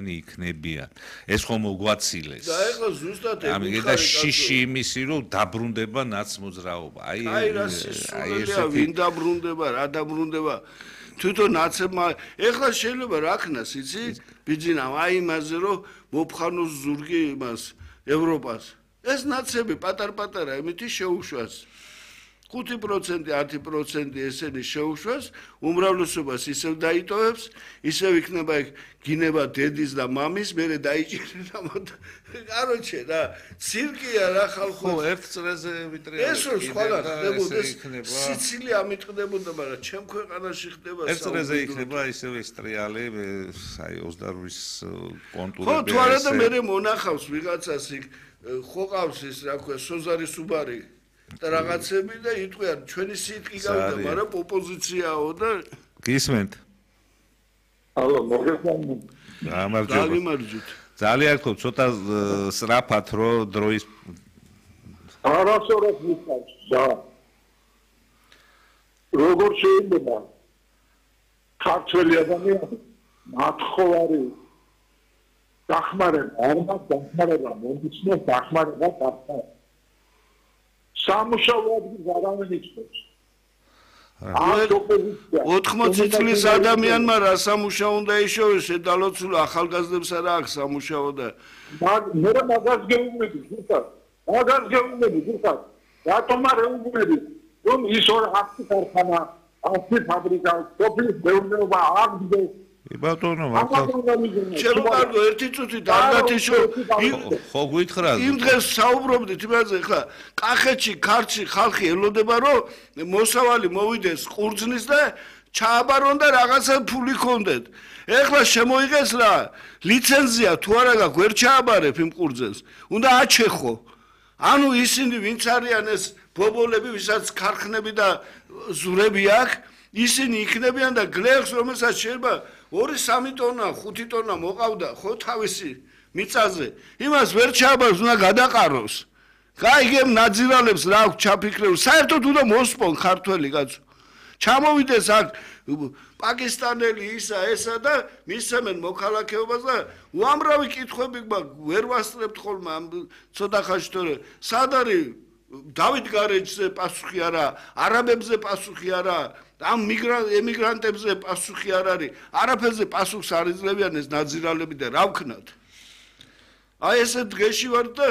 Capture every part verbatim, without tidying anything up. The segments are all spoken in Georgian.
ისინი იქნებიან. ეს ხომ მოგვაცილეს. და ეხლა ზუსტად ამიტომ და შიში იმისი რომ დაბრუნდება ნაცმოძრაობა. აი აი რა სისულელია ვინ დაბრუნდება, რა დაბრუნდება. თვითონ ნაცებმა ეხლა შეიძლება რა ქნას, იცი? ბიძინამ აი იმაზე რომ მოფხანოს ზურგი იმას ევროპას. ეს ნაცები პატარ-პატარა იმითი შეუშვას. ხუთი პროცენტი, ათი პროცენტი ესენი შეუშვას, უმრავლესობას ისევ დაიტოვებს, ისევ იქნება გინება დედის და მამის, მერე დაიჭირება მოთ. კაროჩე რა, ცირკია რა ხალხო. ხო, ერთ წრეზე ვიტრიალებს. ეს რო სხვანა ხდებოდა, სიცილია ამიტყდებოდა, მაგრამ ჩემ ქვეყანაში ხდება ერთ წრეზე იქნება ისევ ეს ტრიალი, აი ოცდაორი კონტურები. ხო, თუ არა და მერე მონახავს ვიღაცას იქ ხო ყავს ის რა ქვია, სოზარი სუბარი. და რაღაცები და იტყვიან ჩვენი სიტყვი გავიდა, მაგრამ ოპოზიციაო და გისმენთ. ალო, მოგესალმებით. გამარჯობა. ძალიან გქობ, ცოტა სწრაფად რო დროის არასოდეს მისავს და როგორ შეიძლება ქართველი ადამიანი მათხოვარი დახმარება, არ მას დახმარება, მომიცნოს დახმარება გახსნა. სამუშაო ადგილს არავინ იცნობს. ოთხმოცი წლის ადამიანმა რა სამუშაო უნდა ეშოვეს, შედალოცულ ახალგაზრდებს არა აქვს სამუშაო და მე მაგას გეუბნები, ზუსტად. მაგას გეუბნები, ზუსტად. რატომ არ ეუბნები, რომ ის ორ ათი ქარხანა, ათი ფაბრიკა, სოფლის მეურნეობა აღდგეს. ბატონო, მართლა ჩემო კარგო, ერთი წუთი დაგათიშო. ხო გითხრა. იმ დღეს საუბრობდით იმაზე, ხა, კახეთში, ქართლში ხალხი ელოდება, რომ მოსავალი მოვიდეს ყურძნის და ჩააბარონ და რაღაცა ფული ქონდეთ. ეხლა შემოიღეს რა, ლიცენზია თუ არა გაქვს, ვერ ჩააბარებ იმ ყურძენს. უნდა აჩეხო. ანუ ისინი ვინც არიან ეს ბობოლები, ვისაც ქარხნები და ზურები აქვს, ისინი იქნებიან და გლეხს, რომელსაც შეიძლება ორი სამი ტონა, ხუთი ტონა მოყავდა ხო თავისი მიწაზე. იმას ვერ ჩააბარს, უნდა გადაყაროს. გაიგებ ნაძირალებს რა აქვს ჩაფიქრებული. საერთოდ უნდა მოსპონ ქართველი კაცო. ჩამოვიდეს აქ პაკისტანელი ისა ესა და მისცემენ მოქალაქეობას და უამრავი კითხვები ვერ ვასწრებთ ხოლმე ამ ცოტა ხანში თორე სად არის დავით გარეჯზე პასუხი არა, არაბებზე პასუხი არა, ამ ემიგრანტებზე პასუხი არ არის, არაფერზე პასუხს არ იძლევიან ეს ნაძირალები და რა ვქნათ. აი ესე დღეში ვარ და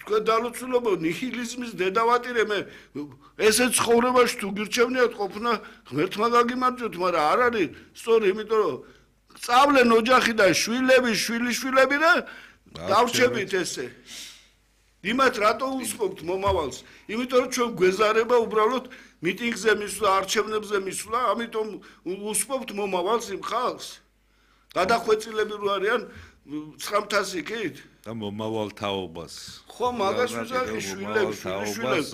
თქვენ დალოცულობო ნიჰილიზმის დედავატირე მე ესე ცხოვრებაში თუ გირჩევნიათ ყოფნა ღმერთმა გაგიმარჯვოთ, მაგრამ არ არის სწორი, იმიტომ რომ სწავლენ ოჯახი და შვილები, შვილიშვილები და დავრჩებით ესე. იმათ რატო უსმობთ მომავალს? იმიტომ რომ ჩვენ გვეზარება უბრალოდ მიტინგზე მისვლა, არჩევნებზე მისვლა, ამიტომ უსმობთ მომავალს იმ ხალხს. გადახვეწილები რო არიან ცხრამთას იქით და მომავალ თაობას. ხო, მაგას ვიზახი შვილებს, შვილებს.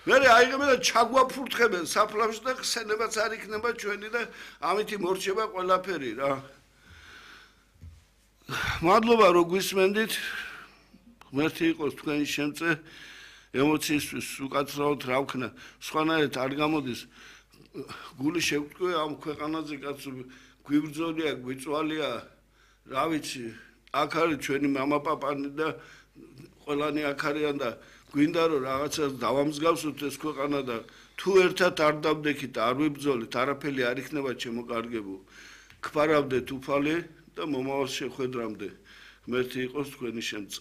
მერე აიღებენ და ჩაგვაფურთხებენ საფლავში და ხსენებაც არ იქნება ჩვენი და ამით მორჩება ყველაფერი რა. მადლობა რომ გვისმენდით. ღმერთი იყოს თქვენი შემწე ემოციისთვის უკაცრავად რა ვქნა, სხვანაირად არ გამოდის. გული შევტყვე ამ ქვეყანაზე კაცო გვიბრძოლია, გვიწვალია, რა ვიცი, აქ არის ჩვენი მამაპაპანი და ყველანი აქ არიან და გვინდა რომ რაღაცას დავამსგავსოთ ეს ქვეყანა და თუ ერთად არ დავდექით, არ ვიბრძოლით, არაფერი არ იქნება შემოკარგებო. გფარავდეთ უფალი და მომავალს შეხვედრამდე. ღმერთი იყოს თქვენი შემწე.